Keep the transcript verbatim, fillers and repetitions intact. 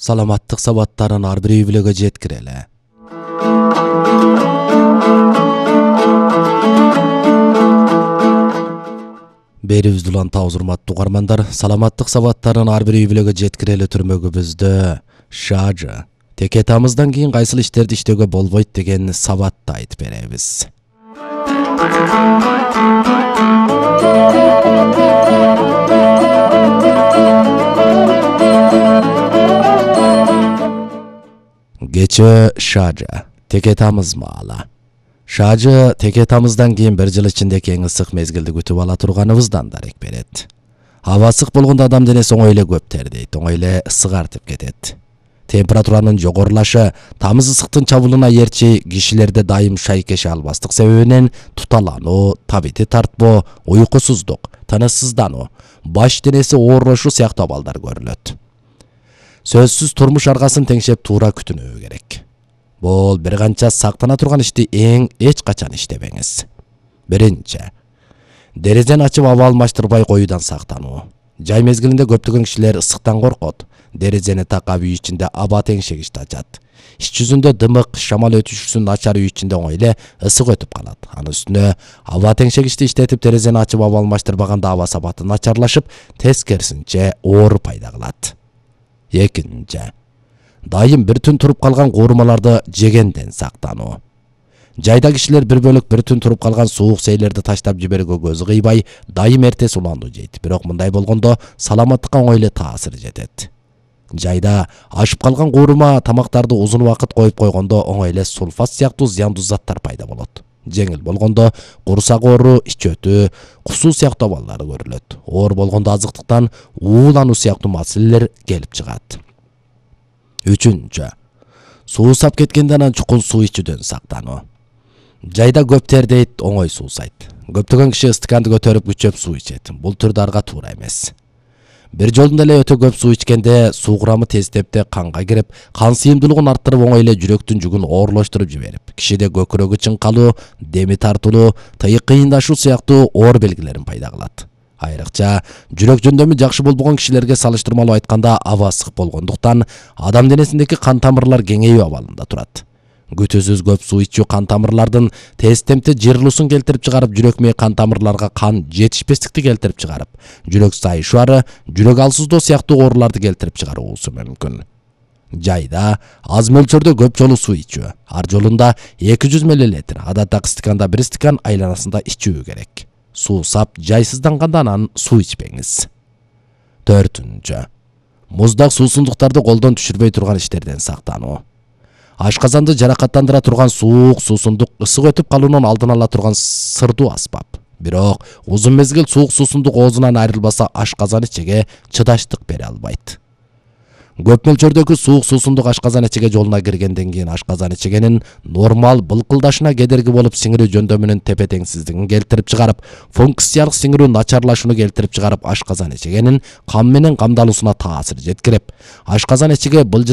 саламаттык сабаттарын ар бир үй-бүлөгө жеткирели. Берибизди улантабыз, урматтуу угармандар. Саламаттык сабаттарын ар бир үй-бүлөгө жеткирели түрмөгүбүздө шажы теке тамыздан кийин кайсыл иштерди иштөөгө болбойт деген сабатты айтып беребиз. Кечээ шажы теке тамыз маалы. Шажы теке тамыздан кийин бир жыл ичинде эң ысык мезгилди күтүп ала турганыбыздан дарек берет. Аба ысык болгондо адам денеси оңой эле көп тердейт, оңой эле ысыгартып кетет. Температуранын жогорулашы тамыз ысыктын чабуулуна эрчи кишилерде дайым шайкеше албастык себебинен туталануу, табити тартпоо, уйкусуздук, тынычсыздануу, баш денеси оорлошу сыяктуу абалдар көрүлөт. Сөзсүз турмуш аргасын теңшеп туура күтүнүү керек. Бул бир канча сактана турган ишти эң эч качан иштебеңиз. Биринчи, дерезени ачып аба алмаштырбай коюудан сактануу. Жай мезгилинде көптөгөн кишилер ысыктан коркот. Дерезени такап үй ичинде аба теңшегичти ачат. Иш жүзүндө дымык, шамал өтүшүсүн начар үй ичинде оңой эле ысык өтүп калат. Анын үстүнө аба теңшегичти иштетип дерезени ачып аба алмаштырбаганда аба сапаты начарлашып, тескерисинче оор пайда кылат. Экинчи, дайым бир түн туруп калган куурмаларды жегенден сактануу. Жайда кишилер бир бөлүк бир түн туруп калган суук сейлерди таштап жиберүүгө көзү кыйбай, дайым эртес улануу жейт. Бирок мындай болгондо саламаттыкка оңой эле таасир жетет. Жайда ашып калган куурма тамактарды узун убакыт коюп койгондо оңой эле сульфат сыяктуу зыяндуу заттар пайда болот. Жеңил болгондо курсак оору, ич өтүү, кусуу сыяктуу абалдар көрүлөт. Оор болгондо азыктыктан уулануу сыяктуу маселелер келип чыгат. Үчүнчү, суусап кеткенде анан чукун суу ичүүдөн сактануу. Жайда көп тердейт, оңой суусайт. Көптөгөн киши стаканды көтөрүп күчөп суу ичет. Бул түрдарга туура эмес. Бир жолдон эле өтө көп суу ичкенде суу курамы тезтепте канга кирип, кан сыйымдуулугун арттырып оңой эле жүрөктүн жүгүн оорлоштуруп жиберип, кишиде көкүрөгү чыңкалуу, деми тартылуу, тыйык кыйындашуу сыяктуу оор белгилерин пайда кылат. Айрыкча жүрөк жөндөмү жакшы болбогон кишилерге салыштырмалуу айтканда аба ысык болгондуктан адам денесиндеки кан тамырлар кеңейүү абалында турат. Күтүүсүз көп суу ичүү кан тамырлардын тез темпте жыйрылуусун келтирип чыгарып, жүрөк менен кан тамырларга кан жетишпестикти келтирип чыгарып, жүрөк сайышуары, жүрөк алсыздоо сыяктуу ооруларды келтирип чыгаруусу мүмкүн. Жайда аз мөлчөрдө көп жолу суу ичүү. Ар жолунда эки жүз миллилитр, адаттагы стаканда бир стакан айланасында ичүү керек. Суусап, жайсызданганда анан суу ичпеңиз. Төртүнчү, муздак суусундуктарды колдон түшүрбөй турган иштерден сактануу. Ашказанды жаракаттандыра турган суук суусундук ысык өтүп калуунун алдын ала турган сырдуу аспап. Бирок узун мезгил суук суусундук оозунан айрылбаса, ашказан ичеге чыдаштык бере албайт. Көп мөлчөрдөгү суук суусундук ашказан ичеге жолуна киргенден кийин ашказан ичегенин нормал былкылдашына кедерги болуп, сиңирүү жөндөмүнүн тепе-теңсиздигин келтирип чыгарып, функциялык сиңирүү начарлашууну келтирип чыгарып, ашказан ичегенин кан менен камдалуусуна таасир жеткирип, ашказан ичеге былжыр